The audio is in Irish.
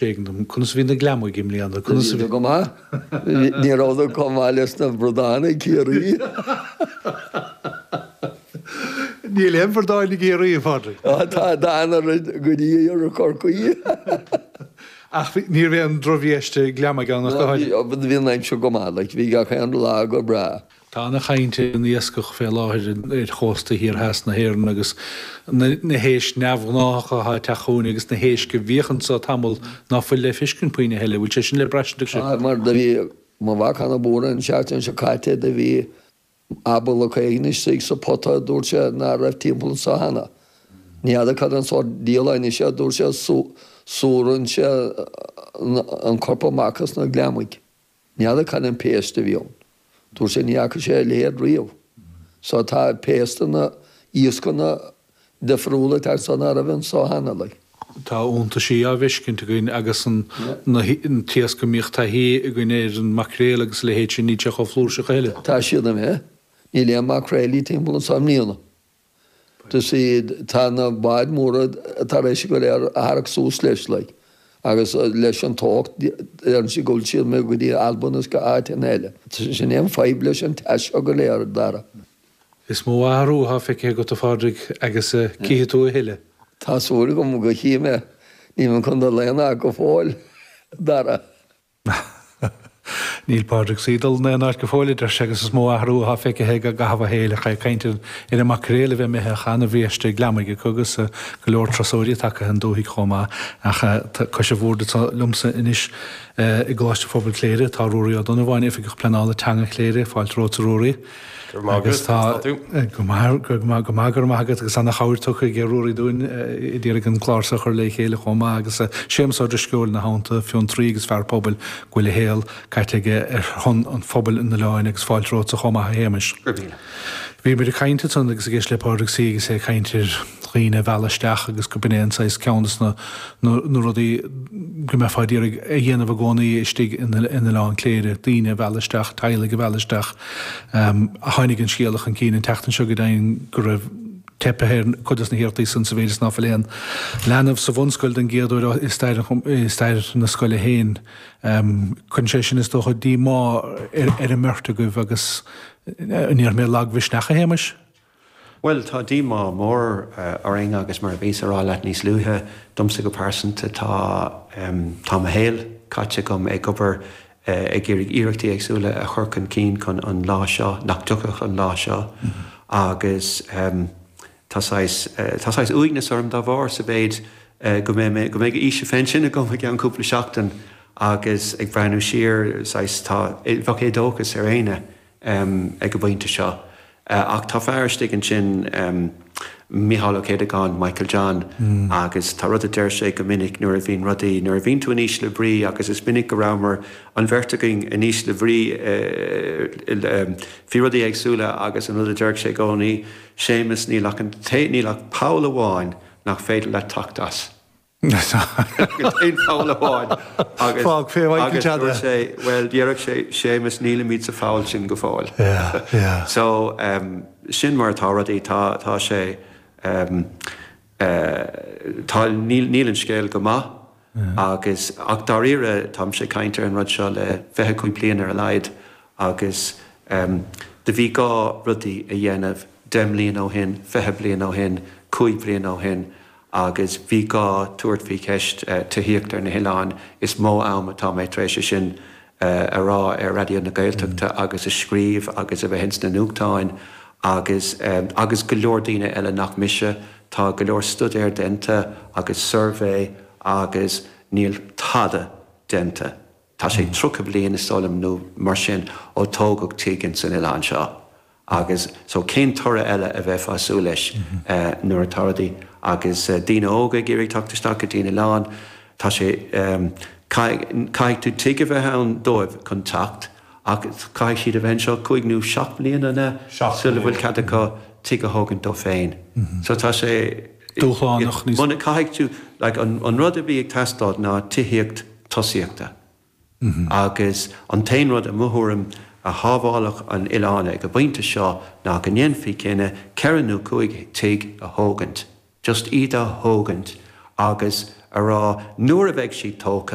Éigean dom. Conas a bhí na gliomaigh i mbliana? Conas a bhí. Go maith. Ní rabhadar chomh maith leis na bradáin i gCiarraí. Níl aon bhradáin i gCiarraí, a Phádraig. Tá, tá an-oiread go dtí iarthar Chorcaí. Ach ní raibh aon drochbhiaiste gliomaigh ann ach go háirithe. Bhí an aimsir go maith, like, bhí gach aon lá go breá. Tá ana-chaint ar an iascach fé láthair ar chósta thiar theas na hÉireann agus na héisc neamhghnáthacha atá ag teacht chugainn agus na héisc a bhíodh anso tamall ná fuil le feiscint puinn a thuilleadh. Bhfuil sé sin le braistint ag Tá, mar do bhí mo mhac ana-bhuartha an tseachtain seo caite, do bhí abalach éigin istigh sa pota, dúirt sé, ná raibh timpeall anso cheana. Ní fheadar cad an sórt diabhal é anois é, dúirt sé, súrann sé an corp amach as na gliomaigh. Ní fheadar cad an péist a bhí ann. Dúirt sé ní fhaca sé a leithéid riamh. So tá péisteanna, iascanna difriúla ag teacht anso ná raibh anso cheana, like. Tá iontaisí á bhfeiscint againn agus an t-iasc a mbíodh taithí againn air, an maicréal agus a leithéid sin, níl sé chomh flúirseach a thuilleadh. Tá siad imithe. Níl aon maicréilí timpeall anso i mbliana. Do see, tá na báid móra tar éis go léir a tharrac suas leis, like, agus leis an teocht, deireann siad go bhfuil siad imithe go dtí Albain is go áiteanna eile. Sin é an fadhb leis an teas seo go léir, a Dhara. Is mó athrú atá feicthe agat, a Phádraig, agus cífidh tú a thuilleadh. Tá súil agam go chífidh mé. Níl mé chun dul aon áit go fóill, a Dhara. Níl Pádraig C. dul in aon áit go fóill, a deir sé, agus is mó athrú atá feicthe aige i gcaitheamh a shaoil ach é ag caint ar an maicréal a bheith imithe ach an-bhiaiste gliomaigh acu agus go leor turasóirí tagtha chun dúthaigh chomh maith. Ach cois an bhoird anseo liomsa anois i gColáiste Phobail Chléire tá Ruairí Ó Donnabháin, Oifigeach Pleanála Teanga Chléire. Fáilte romhat, a Ruairí. Go raibh maith agat, conas tá tú? Go maith, go maith, go maith, go raibh maith agat agus ana-chabhair tugtha ag Ruairí dúinn ag iarraidh an clár seo a chur le chéile chomh maith agus Séamus Ó Drisceoil ina theannta, fiontraí agus fear pobail go bhfuil a shaol caite aige ar shon an phobail an oileáin agus fáilte romhatsa chomh maith a Shéamais. Go raibh míle. Bhí muid ag caint ansan agus ag éisteacht le Pádraig C agus é ag caint ar dhaoine a mhealladh isteach agus go b'in é an saghas ceann des na na rudaí go mbeifeá ag iarraidh a dhéanamh i gcónaí istigh in Oileán Cléire, daoine a mhealladh isteach, teaghlaigh a mhealladh isteach. Tháinig an scéala chun cinn an tseachtain seo go deimhin go raibh teipthe ar cuid des na hiarrachtaí san sa mhéid is ná fuil aon leanbh sa bhunscoil den gcéad uair i stair i stair na scoile féin. Cuireann sé sin is dócha díomá ar an mbeirt agaibh agus an ndéarfaidh mé lagmhisneach, a Shéamais? Bhuel, tá díomá mór orainn agus mar a bhíos a rá leat níos luaithe, domsa go pearsanta tá, tá mo shaol caite agam ag obair ag iarraidh iarrachtaí éagsúla a chur chun cinn chun an lá seo, nach dtiocfadh an lá seo agus tá saghas, tá saghas uaigneas orm dá bharr sa mhéid go mbeidh mé, go mbeidh aois a phensin agam i gceann cúpla seachtain agus ag breathnú siar, saghas, tá, bheadh éadóchas ar éinne ag an bpointe seo. Ach tá fear istigh ansin, Micheál Ó Céideagáin, Michael John, agus tá rud a deir sé go minic nuair a bhíonn rudaí, nuair a bhíonn tú in ísle brí, agus is minic go rabhamar, an bheirt againn, in ísle bhrí faoi rudaí éagsúla agus an rud a deireadh sé i gcónaí, Séamus, níl ach an, níl ach poll amháin nach féidir leat teacht as. Aon pholl amháin agus Fág fé Mhichael agus John dúirt sé, bhuel, déarfadh sé, Séamus, nílimid sa pholl sin go fóill. Yeah, yeah. So, um, sin mar atá rudaí, tá, tá sé, um, eh, tá, níl, níl an scéal go maith agus, ach dáiríre, táimse ag caint ar an rud seo le 25 bliain ar a laghad agus, um, do bhí gá rudaí a dhéanamh 10 mbliana ó shin, 20 bliain ó shin, 5 bliana ó shin agus bhí gá tabhairt faoi cheist tithíocht ar na hoileáin. Is mó am atá mé tar éis é sin a rá ar Raidió na Gaeltachta agus a scríobh agus a bheith ins na nuachtáin agus agus go leor daoine eile nach mise. Tá go leor stuidéar déanta agus suirbhé agus níl tada déanta. Tá sé 30 bliain is dóigh liom nó mar sin ó tógadh tigh ins an oileán seo agus so cén toradh eile a bheifeá ag súil leis nuair atá rudaí agus daoine óga ag iarraidh teacht isteach go dtí an oileán tá sé caithfidh tú tigh a bheith ann dóibh chun teacht ach caithfidh siad a bheith anseo cúig nó seacht mbliana an ea sula bhfuil cead acu tigh a thógaint dóibh féin so tá sé dúshlánach níos. Caithfidh tú like an rud a bhí ag teastáil ná tithíocht tosaíochta. Agus an t-aon rud, i mo thuairim, a shábhálfadh an oileán ag an bpointe seo ná go ndéanfaí cinneadh ceithre nó chúig tigh a thógaint, just iad a thógaint agus. a rá nuair a bheidh siad tógtha.